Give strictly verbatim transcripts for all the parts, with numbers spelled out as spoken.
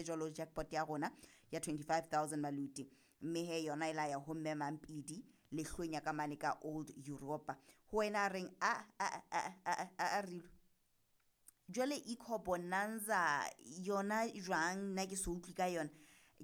hape jwalo jackpot ya rona ya twenty-five thousand maluti. Mme he yona e la ya ho Mme Mampidi lehlonya ka mane ka Old Europa. Ho wena a reng a a a a a a Rilo. Jwale Eco Bonanza yona jwang nna ke so utlwe ka yona.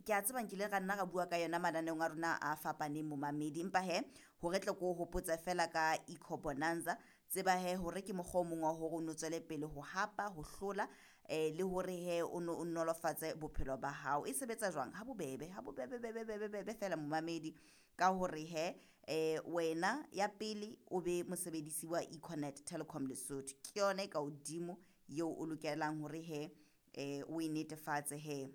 Ke a tseba nkile ra nna ra bua ka yona mananeong a rona a fapaneng momamedi, empa he hore tle ko hopotse fela ka Eco Bonanza, tseba he hore ke mokgwa o mong wa hore o no tswele pele ho hapa, ho hlola eh le hore he o no o nolofatse bophelo ba hao. E sebetsa jwang? Ha bobebe, ha bobebe bebe bebe bebe fela momamedi ka hore he eh wena ya pele o be mosebedisi wa Econet Telecom Lesotho. Ke yona e ka hodimo eo o lokelang hore he eh o e netefatse he.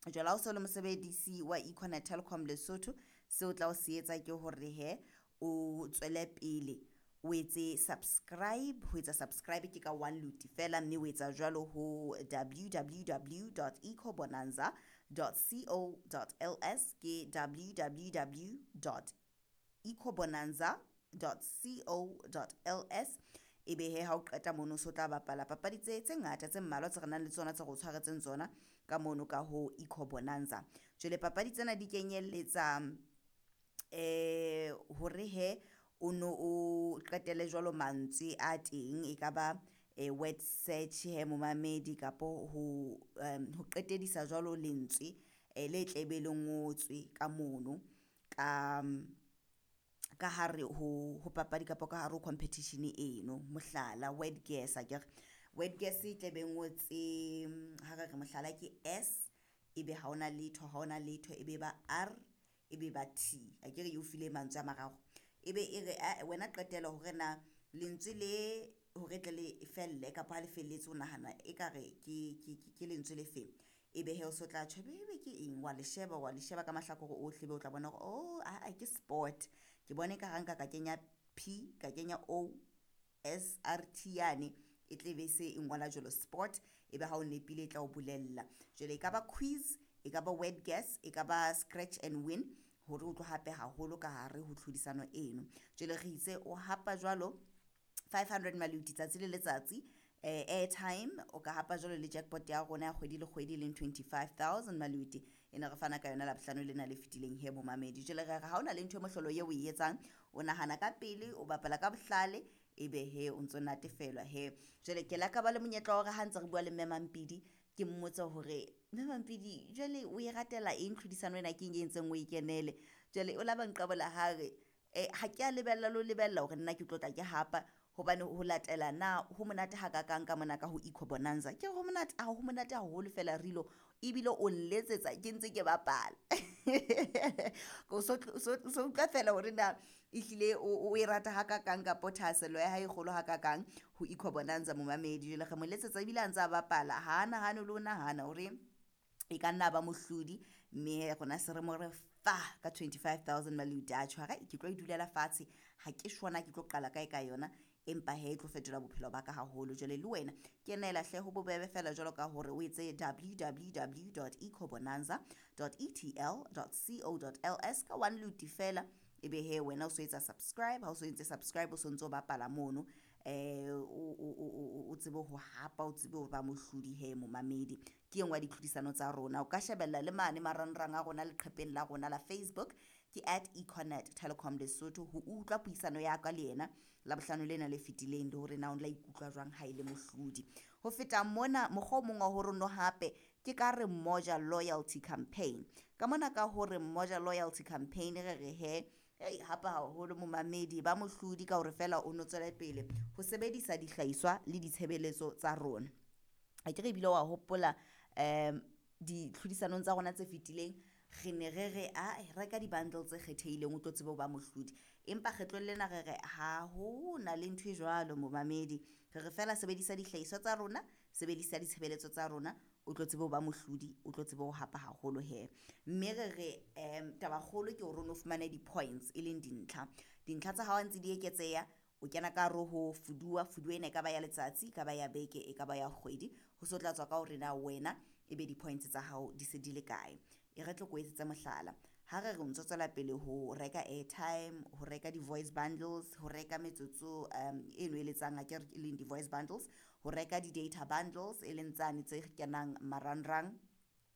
Jwale ha o so le mosebedisi wa Econet Telecom Lesotho, seo tla o se etsa ke hore he o tswele pele o etse subscribe. Ho etsa subscribe ke ka one luti fela, mme o etsa jwalo ho w w w dot ecobonanza dot co dot l s, ke w w w dot ecobonanza dot co dot l s. Ebe he ha o qeta mono, so tla bapala papadi tse tse ngata tse mmalwa tse re nang le tsona tse re o tshwaretseng tsona ka mono ka ho Eco Bonanza. Jwale papadi tsena di kenyelletsa eh hore he o no o qetele jwalo mantswe a teng, e ka ba eh, word search he momamedi, kapo ho um, ho qetedisa jwalo lentswe eh, le tlebe le ngotswe ka mono ka ka hare ho ho papadi kapa ka hare ho competition eno. Mohlala, word guess, akere word guess e tle be ngotse, ha re re mohlala ke S, ebe ha hona letho, ha hona letho, ebe ba R, ebe ba T, akere e o file mantswe a mararo, ebe e re ae wena qetela hore na lentswe le hore tle le felle kapa ha le felletse o nahana ekare ke ke ke lentswe le feng. Ebe he o so tla tjho ebe ke eng, wa le sheba, wa le sheba ka mahlakore ohle, ebe o tla bona hore oh aa ke sport. Ke bone ka ha nka ka kenya P, ka kenya O S R T yane, e tle be se e ngola jwalo sport. Ebe ha o nepile e tla o bolella. Jwale e ka ba quiz, e ka ba word guess, e ka ba scratch and win, hore o tlo hape haholo ka hare ho tlhodisano eno. Jwale re itse o hapa jwalo five hundred maluti tsatsi le letsatsi, eh, airtime o ka hapa jwalo le jackpot ya rona ya kgwedi le kgwedi e leng twenty-five thousand maluti, e ne re fana ka yona Labohlano lena le fetileng he momamedi. Jwale re re ha o na le ntho e mohlolo eo o e etsang, o nahana ka pele, o bapala ka bohlale, ebe he o ntso natefelwa he. Jwale ke la ka ba le monyetla wa hore ha ntse re bua le Mme Mampidi, ke mmotse hore Mme Mampidi jwale o e ratela eng tlhodisano ena, ke eng e entseng o e kenele. Jwale o la ba nqabola ha re eh, ha ke a lebella le ho lebella hore nna ke tlo tla ke hapa, hobane ho latela na ho monate hakakang ka mona ka ho Eco Bonanza. Ke re ho monate, ha ho monate haholo fela Rilo, ebile o nletsetsa ke ntse ke bapala, o so so utlwa fela hore na ehlile o e rata hakakang kapo thahasello ya hae e kgolo hakakang ho Eco Bonanza momamedi. Jwale re mo letsetsa ebile a ntse a bapala, ha a nahane le ho nahana hore e ka nna ba mohlodi, mme rona se re mo re fa ka twenty-five thousand maluti. A tjho ke tlo e dulela fatshe, ha ke shona ke tlo qala kae ka yona, empa he e tlo fetola bophelo ba ka haholo. Jwale le wena kenela hle, ho bobebe fela jwalo ka hore o etse w w w dot ecobonanza dot e t l dot co dot l s ka one luti fela. Ebe he wena o so etsa subscribe, ha o so entse subscribe, o so ntso bapala mono, eh o tsebe ho hapa, o tsebe ho ba mohlodi he momamedi. Ke e nngwe ya ditlhodisano tsa rona. O ka shebella le mane marangrang a rona leqhepeng la rona la Facebook, ke at Econet Telecom Lesotho, ho utlwa puisano ya ka le yena Labohlano lena le fetileng, le hore na o la ikutlwa jwang ha e le mohlodi. Ho feta mona, mokgwa o mong wa hore no hape ke ka re Moja Loyalty Campaign. Ka mona ka hore Moja Loyalty Campaign, re re he ei hapa haholo momamedi, ba mohlodi ka hore fela o no tswele pele ho sebedisa dihlahiswa le ditshebeletso tsa rona. Akere ebile wa hopola um ditlhodisanong tsa rona tse fetileng, re ne re re a reka di-bundle tse kgethehileng o tlo tsebe ho ba mohlodi, empa kgetlong lena re re ha ho na le ntho e jwalo momamedi. Re re fela sebedisa dihlahiswa tsa rona, sebedisa ditshebeletso tsa rona, o tlo tsebe ho ba mohlodi, o tlo tsebe ho hapa haholo he. Mme re re um tabakgolo ke hore o no fumane di-points, e leng dintlha. Dintlha tsa hao ha ntse di eketseha, o kena ka hare ho fuduwa. Fuduwa ena e ka ba ya letsatsi, e ka ba ya beke, e ka ba ya kgwedi, ho so tla tswa ka hore na wena ebe di-points tsa hao di se di le kae. E re tle ko etsetse mohlala, ha re re o ntso tswela pele ho reka airtime, ho reka di-voice bundles, ho reka metsotso um eno e letsang akere, e leng di-voice bundles, ho reka di-data bundles, e leng tsane tse kenang marangrang.